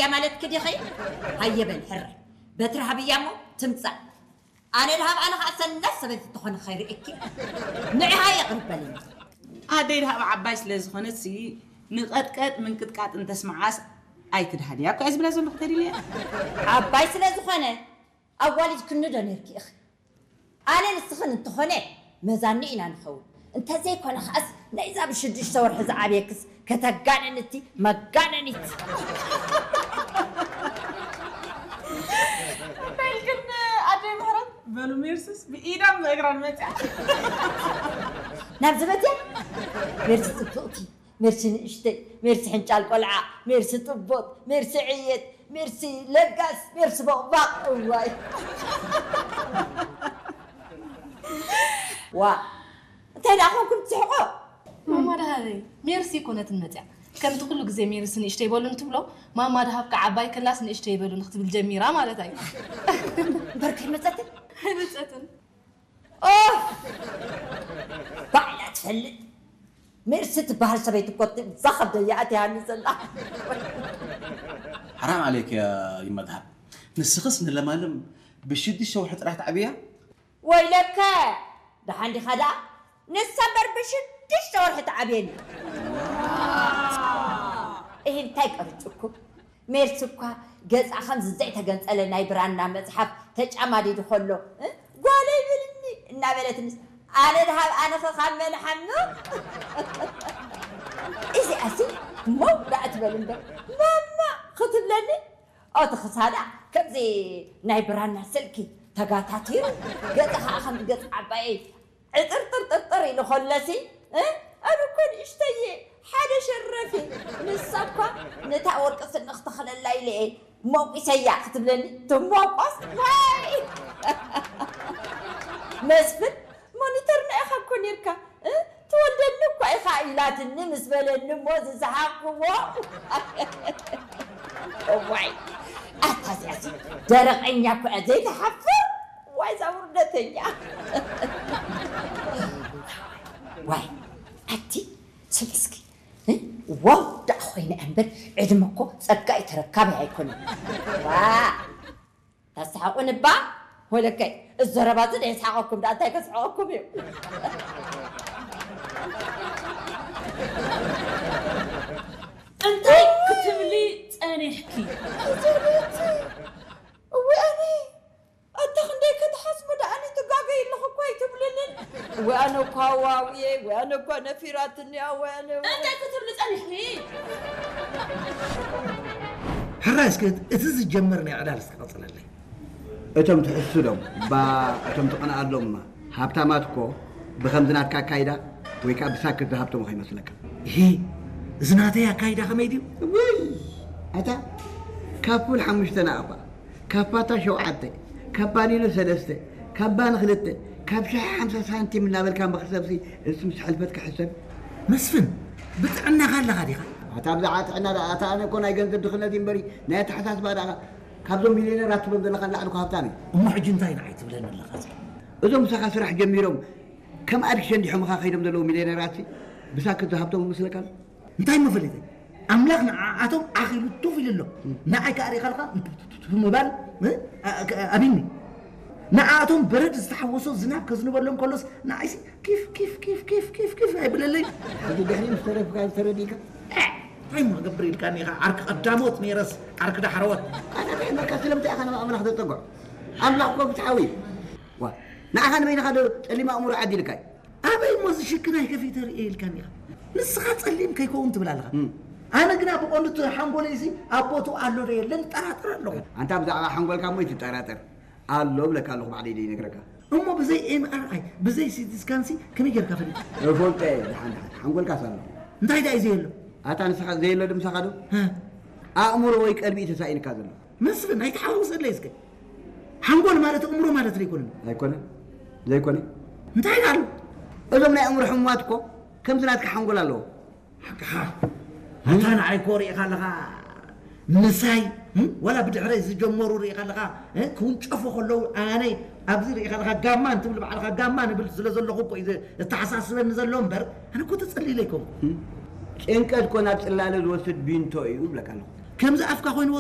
እያ ማለትኪ ዲኺ? ሃየ በል ሕረ። በትሪ ሃብያ እሞ ትምጻእ። ኣነ ድሃብ ኣነ ኸዓ ሰናይ ሰበይቲ ትኾነ ኸይርእኪ። ንዕሃ የቕርበልኒ። ኣደይ ድሃብ ዓባይ ስለ ዝኾነት ሲ ንቐጥቀጥ ምንቅጥቃጥ እንተስምዓስ ኣይትድሃልያ እኮ እየ ዝብላ ዘለኹ ተዲልያ። ዓባይ ስለ ዝኾነ ኣዋሊድክኒ ዶ ነርኪ ኢኺ? ኣነ ንስኽን እንተኾነ መዛኒ ኢና ንኸውን። እንተዘይኮነ ኸኣስ ናይዛ ብሽዱሽተ ወርሒ ዝዓብየክስ ከተጋነን እቲ መጋነኒት። በል ግን ኣደይ ምሕረት በሉ ሜርስስ ብኢዳን ብእግራን መፅያ። ናብዚ መፅያ ሜርሲ ፅብቕቲ፣ ሜርሲ ንእሽተይ፣ ሜርሲ ሕንጫል ቆልዓ፣ ሜርሲ ጥቦት፣ ሜርሲ ዕየት፣ ሜርሲ ለጋስ፣ ሜርሲ ቦቕባቕ። እዋይ ዋ፣ እንታይ ደኣ ኮንኩም ትስሕቑ? ማማ ደሃበይ፣ ሜርሲ ኣይኮነትን መፅያ። ከምቲ ኩሉ ግዜ ሜርሲ ንእሽተይ በሉ እንትብሎ፣ ማማ ደሃብ ከዓ ዓባይ ክላስ ንእሽተይ በሉ ንክትብል ጀሚራ ማለት እዩ። እምበር ከይመፀትን? ኣይመፀትን። ኦፍ! ባዕላ ትፈልጥ። ሜርሲ ትበሃል ሰበይቲ እኮ እዛ ከብደይ እያ ኣትያኒ ዘላ። ሓራም ዓለይክ ያ ይመድሃብ። ንስኽስ ንለማለም ብሽዱሽተ ወርሒ ጥራሕ ትዓብያ? ወይለከ! ደሓን ዲኻ ደኣ? ንሳ እምበር ብሽዱሽተ ወርሒ ትዓብየኒ። እሂ እንታይ ቀርጭኩም? ሜርሲ እኳ ገጻ ከምዚ ዘይተገንጸለ ናይ ብራና መጽሓፍ ተጫማዲዱ ከሎ፣ እ፣ ጓለይ ብልኒ እናበለትንስ፣ ኣነ ድሃብ ኣነኸ ካብ መን ሓምቕ? እዚኣሲ መው ደኣ ትበል እምበር፣ ማማ ክትብለኒ፣ ኦቲ ክሳዳ ከምዚ ናይ ብራና ስልኪ ተጋታቲሩ፣ ገጻ ኸኣ ከምዚ ገጽ ዓባየይ ዕጥርጥርጥርጥር ኢሉ ከሎሲ፣ እ? ኣነ እኮ ንእሽተየ ሓደ ሸረፊ፣ ንሳ እኳ ነታ ወርቂ ስኒ ክተኽለላ ኢለ እየ ሞቂሰያ ክትብለኒ፣ ትሞቆስ? ዋይ! መስፍን፣ ሞኒተርና ኢኻ እኮ ኔርካ፣ እ? ትወልደኒ እኳ ኢኻ ኢላትኒ ምስ በለኒ እሞ ዝሰሓቕክዎ። እዋይ፣ ኣታ እዚኣሲ ደረቐኛ እኮ እያ፣ ዘይትሓፍር። ዋይ፣ እዛ ውርደተኛ። ዋይ፣ ኣቲ ስሚ እስኪ፣ እ? ዋው ደኣ ኮይነ እምበር፣ ዕድመ እኮ ጸጋ እዩ፣ ተረካቢ ኣይኮነን። ዋ፣ ተስሓቑኒ እባ? ወለከይ፣ እዚ ዘረባ እዚ ደየስሓቐኩም ደኣ፣ እንታይ ከስሕቐኩም እዩ? እንታይ ክትብሊ ጸኒሕኪ? እወ፣ ኣነ ኣታ ክንደይ ክትሓስቡ ደኣኒ ትጋገይ ኣለኹ እኮ ኣይትብልንን። ወይ ኣነ እኳ ዋውየ፣ ወይ ኣነ እኳ ነፊራትኒ፣ ወይ ኣነ እንታይ ክትብሊ ጸኒሕኪ? ሕራይ እስከ እቲ ዝጀመር ናይ ዕላል እስከ ቀጽለለይ። እቶም ትሕስዶም፣ ባ እቶም ትቐንኣሎም፣ ሃብታማት እኮ ብኸምዚ ናትካ ኣካይዳ ወይ ከኣ ብሳክት ዝሃብቶም ከይመስለካ። እሂ፣ እዚ ናተይ ኣካይዳ ከመይ ድዩ? ውይ፣ ኣታ ካብ ፉል ሓሙሽተ ንኣባ፣ ካብ ፓታ ሸውዓተ፣ ካብ ባኒኖ ሰለስተ፣ ካብ ባኒ ክልተ፣ ካብ ሻሂ ሓምሳ ሳንቲም እናበልካ ምኽሰብሲ፣ እሱ ምስ ሕልፈትካ ሕሰብ። መስፍን፣ ብጥዕናኻ ኣለኻ ዲኻ? ኣታ ብዛዕባ ጥዕና ደኣ፣ ኣታ ኣነ እኮ ናይ ገንዘብ ድኽነት እዩ እምበሪ፣ ናይ ኣተሓሳስባ ደኣ ካብዞም ሚልዮነራት ትብሎም ዘለኻ ንላዕሊ እኮ ሃብታም እዩ። እሞ ሕጂ እንታይ ንዓይ ትብለኒ ኣለኻ? እዞም ምሳኻ ስራሕ ጀሚሮም ከም ኣድጊ ሸንዲሖምኻ ከይዶም ዘለዉ ሚልዮነራት ብሳክት ዝሃብቶም ይመስለካ ኣሎ? እንታይ እሞ ፈሊጠ? ኣምላኽ ንዓኣቶም ኣኺሉ ቱፍ ኢሉ ኣሎ። ንዓይ ከኣ ርኢኻ ኣለኻ? ቱፍ ምባል፣ እ? ኣ-፣ ኣ-፣ ኣቢኒ። ንዓኣቶም በረድ ዝተሓወሶ ዝናብ ከዝንበሎም ከሎስ ንዓይሲ ኪፍ፣ ኪፍ፣ ኪፍ፣ ኪፍ፣ ኪፍ፣ ኪፍ ኣይብለለይ። ሕጂ ድሕሪ ምስ ተረፍካ ዝተረዲእካ? እ፣ እንታይ እሞ ገብር ኢልካኒ ኢኻ? ዓርኪ ቀዳሞት ነይረስ ዓርኪ ዳሕረዎት። ኣነ እንታይ እመካ ስለምንታይ ኢኻ ናብ ኣምላኽ ዘጸግዖ? ኣምላኽ እኮ ፍትሓዊ እዩ። ዋ፣ ንዓኻ ንበይንኻ ዶ ጸሊም ኣእምሮ ዓዲልካ እዩ? ኣበይ እሞ እዚ ሽክናይ ከፊተ ርእየ ኢልካኒ ኢኻ? ንስኻ ጸሊም ከይከውን ትብል ኣለኻ። እም። ኣነ ግና ብቐንዱ እቲ ሓንጎለይሲ ኣብ ቦትኡ ኣሎ ዶ የለን እጠራጠር ኣለኹ። ኣንታ ብዛዕባ ሓንጎልካ እሞ ኣይትጠራጠር። ኣሎ እብለካ ኣለኹ ባዕለይ ዘይነግረካ። እሞ ብዘይ ኤም ኣር ኣይ፣ ብዘይ ሲቲ ስካንሲ ከመይ ጌርካ ፈሊጥካ? እፈልጦ እየ፣ ደሓን፣ ደሓን። ሓንጎልካስ ኣሎ። እንታይ ደኣ እዩ ዘየሎ? ኣታ ንስኻ ዘየሎ ድምሳኻ ዶ? ሀ። ኣእምሮ ወይ ቀልቢ እዩ ተሳኢንካ ዘሎ። መስፍን፣ ኣይትሓውሰለይ እስከ። ሓንጎል ማለት ኣእምሮ ማለት ዶ ኣይኮነን? ኣይኮነን። ዘይኮነ። እንታይ ደኣ ኣሎ? እዞም ናይ ኣእምሮ ሕሙማት እኮ ከምዚ ናትካ ሓንጎል ኣለዎ። ሓቅኻ። ኣታ ንዓይ እኮ ርኢኻ ኣለኻ። ምሳይ፣ እም? ዋላ ብድሕረይ ዝጀመሩ ርኢኻ ኣለኻ። እ? ክውንጨፉ ከለዉ ኣነ ኣብዚ ርኢኻ ኣለኻ። ጋማ እንትብል ባዕልኻ ጋማ ንብል ስለ ዘለኹ እኮ እዩ ዘ-፣ ዘተሓሳስበኒ ዘሎ እምበር፣ ኣነ እኮ ተጸሊለ ኣይኮንኩ። እም? ጭንቀት እኮ ናብ ጽላለ ዝወስድ ቢንቶ እዩ እብለካ ኣለኹ። ከምዚ ኣፍካ ኮይንዎ